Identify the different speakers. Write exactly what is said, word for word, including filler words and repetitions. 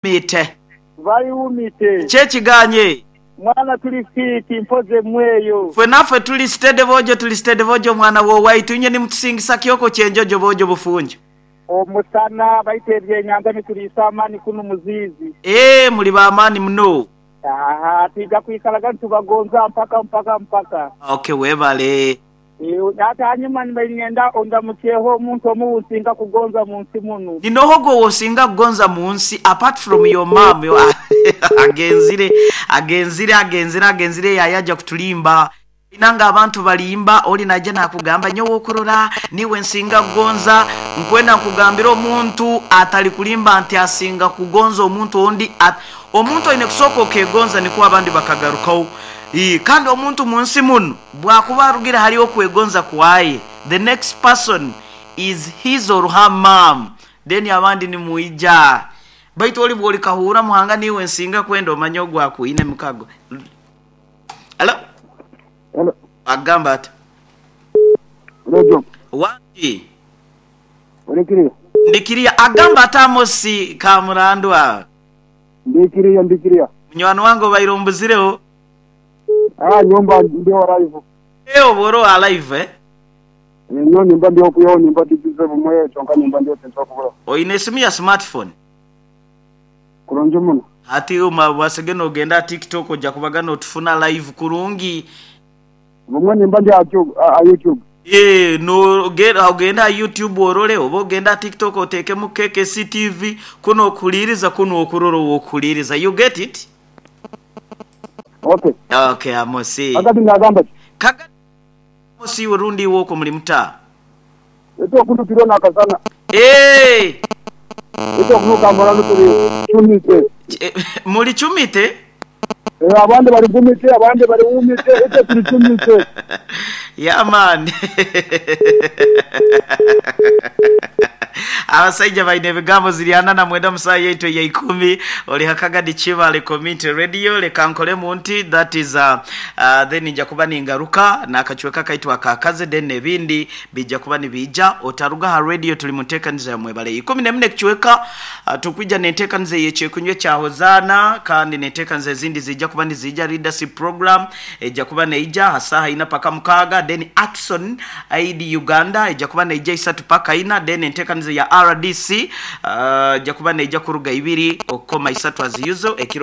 Speaker 1: Mite.
Speaker 2: Baliwumite.
Speaker 1: Kyekiganye.
Speaker 2: Mwana tuli fiti mpoze mweyo.
Speaker 1: Fwe naffe tuli steady bojo, tuli steady bojo mwana wowaitu inye nimutusingisa kyoko kyenjojo bojo bufunjo.
Speaker 2: Omusana baita ebyenyanja nituliisa amaani kuno muziizi.
Speaker 1: Eh, muli b'amaani muno.
Speaker 2: Aha, twija kwikalaga nitubagonza mpaka mpaka mpaka.
Speaker 1: Okay, webale.
Speaker 2: Ate hanyuma nibanyenda ondamukyeho omuntu omu nsinga kugonza mu nsi muno.
Speaker 1: Ninoho gwe wosinga kugonza mu nsi apart from your mom yo agenzire agenzire agenzire agenzire yayaja kutulimba. Inanga abantu balimba oli najja nakugamba nyowe okurora niwe nsinga kugonza, nkwenda nkugambira omuntu atali kulimba nti asinga kugonza omuntu ondi at, omuntu oine kusooka okegonza niko abandi bakagarukaho. I, kandi omuntu mu nsi muno bwakuba arugira hariho okwegonza kwaye, the next person is his or her mom, then abandi nimuija. Baitu oli bwoli kahura muhanga niwe nsinga kwenda omanye ogwakuine mukago. Hello?
Speaker 3: Hello.
Speaker 1: Agamba ati
Speaker 3: Radio.
Speaker 1: Wangi.
Speaker 3: Ndikiriya.
Speaker 1: Ndikiriya agamba ati Amosi Kamurandwa.
Speaker 3: Ndikiriya ndikiriya.
Speaker 1: Munywani wange obaire ombuzireho.
Speaker 3: Ah, nyumba ndio live.
Speaker 1: Eh, oboro alive eh?
Speaker 3: Nyo nyumba ndio kuyo nyumba tibize bumwe chonka nyumba ndio tenso kubura.
Speaker 1: Oine esimu ya smartphone.
Speaker 3: Kurungi muno.
Speaker 1: Ati uma wasege nogenda TikTok ojja kubaga notufuna live kurungi.
Speaker 3: Bumwe nyumba ndio a YouTube.
Speaker 1: Eh, no genda ogenda YouTube orole oba ogenda TikTok otekemu K K C T V kuno okuliriza kuno okurora okuliriza. You get it?
Speaker 3: Okay.
Speaker 1: Okay, Amosi.
Speaker 3: Akati ngagamba ki?
Speaker 1: Kaga Amosi urundi woko muli muta.
Speaker 3: Eto kunu tirona akasana.
Speaker 1: Eh.
Speaker 3: Eto kunu kamara turi chumite.
Speaker 1: Muli chumite?
Speaker 3: Eh, abandi bari gumite, abandi bari umite, eto turi chumite.
Speaker 1: Yeah man. Abasajja baine ebigambo ziriana na mwenda musayi yaitu ya ikumi oli hakagadi Chibale Community Radio leka nkolemu nti that is uh, uh, then nja kuba ningaruka nakachweka kaitwa kakaze then ebindi bijja kuba nibija otaruga ha radio tuli mutekaniza mwebale ikumi na nne kichweka uh, tukwija netekaniza yekyekunywe kya Hozana kandi netekaniza ezindi zijja kuba nizija leadership program ejja kuba neija hasaha ina paka mukaga then Action I D Uganda ejja kuba neija isatu paka ina then entekaniza ya R D C uh, jakuba neija kuruga ibiri okoma isatu aziuzo ekiro.